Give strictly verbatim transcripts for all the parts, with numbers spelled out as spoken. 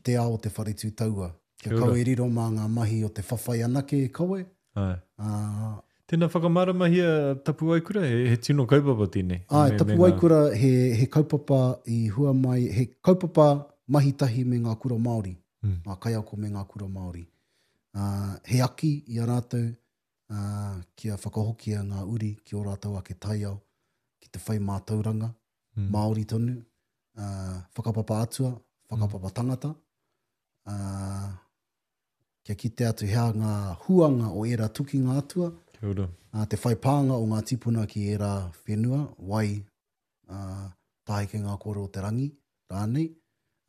te ao o te whare tū taua. Kia Kia ora. kaua e riro mā ngā mahi o te whawhai anake e kawe. Āe. Ā, Tēnā whakamāramahia Tapuwaekura, he, he tino kaupapa tēnei. Āe, Me- me Tapuwaekura he, he kaupapa i hua mai, he kaupapa mahi tahi me ngā kura Māori, Mm. ngā kaiako me ngā kura Māori. Uh, he aki i a rātou uh, kia whakahokia ngā uri ki ō rātou ake taiao, ki te whai mātauranga, Mm. Māori tonu, uh, whakapapa atua, whakapapa tangata, uh, kia kite atu hea ngā huanga o ērā tukinga atua, Kia ora. uh, te whai pānga o ngā tipuna ki ērā whenua, wai, uh, tāheke ngā kōrero o te rangi, rānei.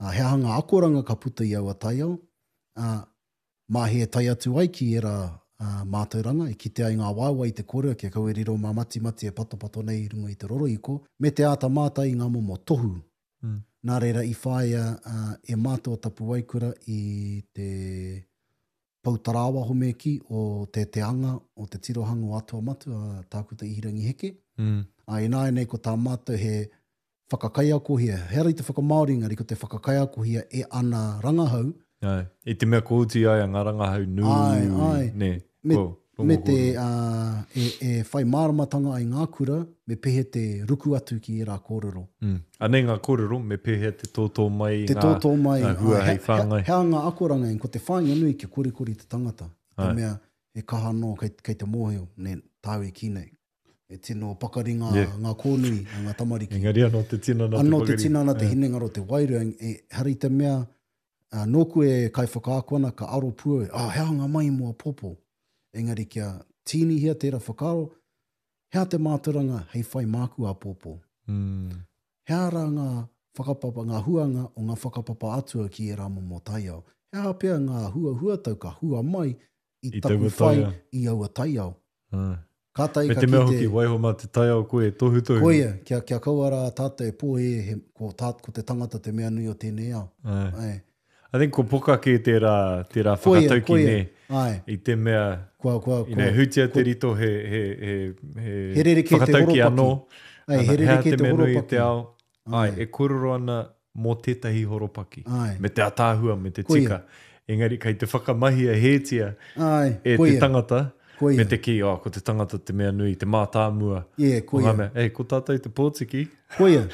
Uh, he aha ngā akoranga ka puta i aua taiao, uh, mā he tai atu ai ki ērā uh, mātauranga, e kite ai ngā waewae i te kōrero kia kaua e riro mā matimati e patopato nei i runga i te rorohiko, me te āta mātai i ngā momo tohu. Mm. Nā reira i whāia uh, e mātou o Tapuwaekura i te poutarāwaho me ki o te te anga o te tirohanga o Atua Matua, a Tākuta Ihirangi Heke. Mm. A ināianei ko tā mātou he whakakaiakohia, he ara i te whakamāori engari ko te whakakaiakohia e ana rangahau. Āe, i te mea ko oti ai a ngā rangahau nui, Āe, āe. nē, Me, ko, rongo me te, kōrero. uh, e, e whai māramatanga ai ngā kura, me pēhea te ruku atu ki ērā kōrero. Mm. Anei ngā kōrero, me pēhea te tōtō mai i Te ngā, tōtō mai, ngā hua ā, hei he, he, whāngai. he aha ngā akoranga, ko te whāinga nui kia korikori te tangata. I te Āe. mea, he kaha anō kei, kei te mōhio, nē, tāu e kī nei. E tino pakari ngā, Yeah. ngā kōnui a ngā tamariki. Engari anō te tinana te Anō te pakari. tinana, te Yeah. hinengaro, te wairua, e, ehara i te mea, uh, nōku e kaiwhakaako ana, ka aro pua, ah, he aha ngā mahi mō āpōpō. Engari kia tīnihia tērā whakaaro, he aha te mātauranga hei whai māku āpōpō. Mm. He aha rā ngā whakapapa, ngā huanga o ngā whakapapa atua ki ērā momo taiao. He aha pea ngā huahuatau ka hua mai i, I taku taua whai taiao. i aua taiao. Āe. Kātahi Me ka te mea kite hoki, waiho mā te taiao koe e tohutohu. Koia, kia, kia kaua rā tātou e pōhē, he, ko, tā, ko te tangata te mea nui o tēnei ao. Āe. Āe. I think ko poka kē tērā, tērā Koia, whakatauki koia. nē. Āe. I te mea, Kua, kua, you know, kua, hutia kua te rito he, he, he, he, He rerekē te whakatauki horopaki. anō. Āe, he Ana, he aha rerekē te te mea nui i horopaki. te ao. Āe, Āe. e kōrero ana mō tētahi horopaki. Āe. Me te ataahua, me te Koia. tika. Engari kei te whakamahia hētia Āe, e te koia. tangata, Koia. me te kī, oh, ko te tangata te mea nui, te mātāmua. Yeah, O koia. ngā mea, ei, ko tātou te pōtiki. Koia,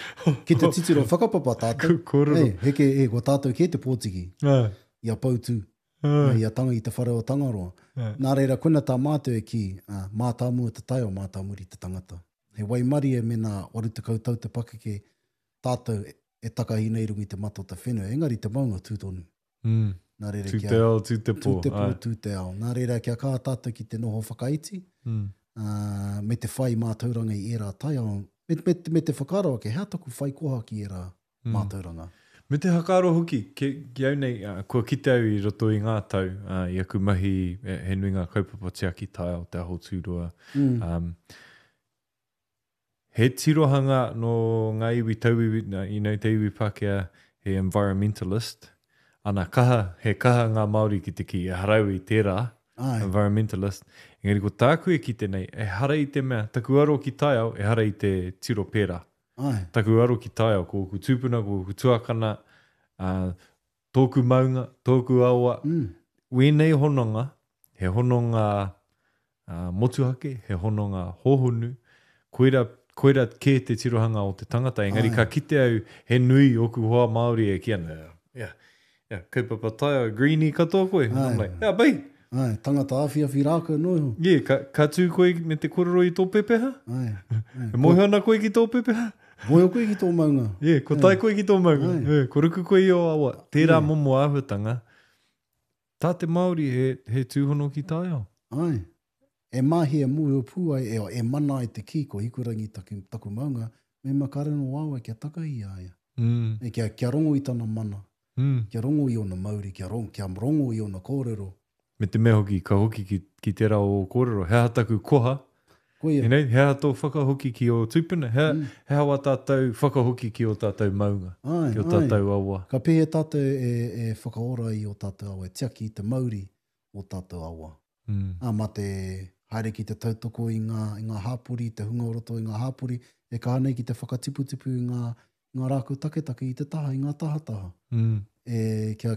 ki te titiro whakapapa tātou. Ko kōrero. Ei, heke, e, ko tātou kē te pōtiki. Āe. I a Poutū, Āe. i a tanga, i te whare o Tangaroa. Āe. Nā reira, koina tā mātou e kī, uh, mātāmua te taiao, mātāmuri te tangata. He waimarie me nā waru tekau tau te pakeke tātou e takahi nei runga i te mata o te whenua. Engari te maunga tū tonu. Mm. Nā reira Tū kia te ao, tū te pō. Tū te pō, Āe. tū te ao. Nā reira kia kaha tātou ki te noho whakaiti, Mm. uh, me te whai mātauranga i ērā taiao, me, me, me te whakaaro ake, hea taku whai koha ki ērā Mm. mātauranga. Me te whakaaro hoki, ki, ki au nei, uh, kua kite au i roto i ngā tau, uh, i aku mahi, e, he nui ngā kaupapa tiaki taiao, te aho tūroa. Mm. Um, he tirohanga nō ngā iwi tauiwi, nā, you know, te iwi Pākehā, he environmentalist. Ana, kaha, he kaha ngā Māori ki te kī, ehara au i tērā, Āe. environmentalist. Engari ko tāku e kite nei, ehara i te mea, taku aro ki taiao, ehara i te tiro pērā. Āe. Taku aro ki taiao, ko ōku tūpuna, ko ōku tuakana, uh, tōku maunga, tōku awa. Mm. Wēnei hononga, he hononga uh, motuhake, he hononga hōhonu, koira, koira kē te tirohanga o te tangata. Engari Āe. ka kite au, he nui ōku hoa Māori e kī ana, yeah, yeah, kaupapa taiao, greenie katoa koe. And I'm Āe. like, yeah, bai. Āe, tangata awhiawhi rākau noa iho. Yeah, ka, ka tū koe me te kōrero i tō pepeha? Āe, āe. E mōhio ana koe ki tō pepeha? Mōhio koe ki tō maunga. Yeah, ko tae koe ki tō maunga. Āe. Yeah, ko ruku koe i ō awa. Tērā Yeah. momo āhuatanga. Tā te Māori he, he tūhono ki taiao. Āe. E mahi e mōhio pū ai, e, e mana ai te kī ko Hikurangi taku, taku maunga, me makare no wawa kia taka i a ia. Mm. E, kia, kia rongo i tana mana, Mm. kia rongo i ona mauri, kia rongo, kia rongo i ona kōrero. Me te mea hoki, ka hoki ki, ki tērā o kōrero. He aha taku koha, Koia. you know, he aha tō whakahoki ki ō tūpuna, he, Mm. he aha wā tātou whakahoki ki ō tātou maunga, Āe, ki ō āe. tātou awa. Ka pēhea tātou e, e whakaora i ō tātou awa, e tiaki i te mauri o tātou awa. Mm. Ā, mā te haere ki te tautoko i ngā, i ngā hāpori, te hunga o roto i ngā hāpori, e kaha nei ki te whakatiputipu i ngā, ngā rākau taketake i te taha, i ngā tahataha. Mm. E, kia,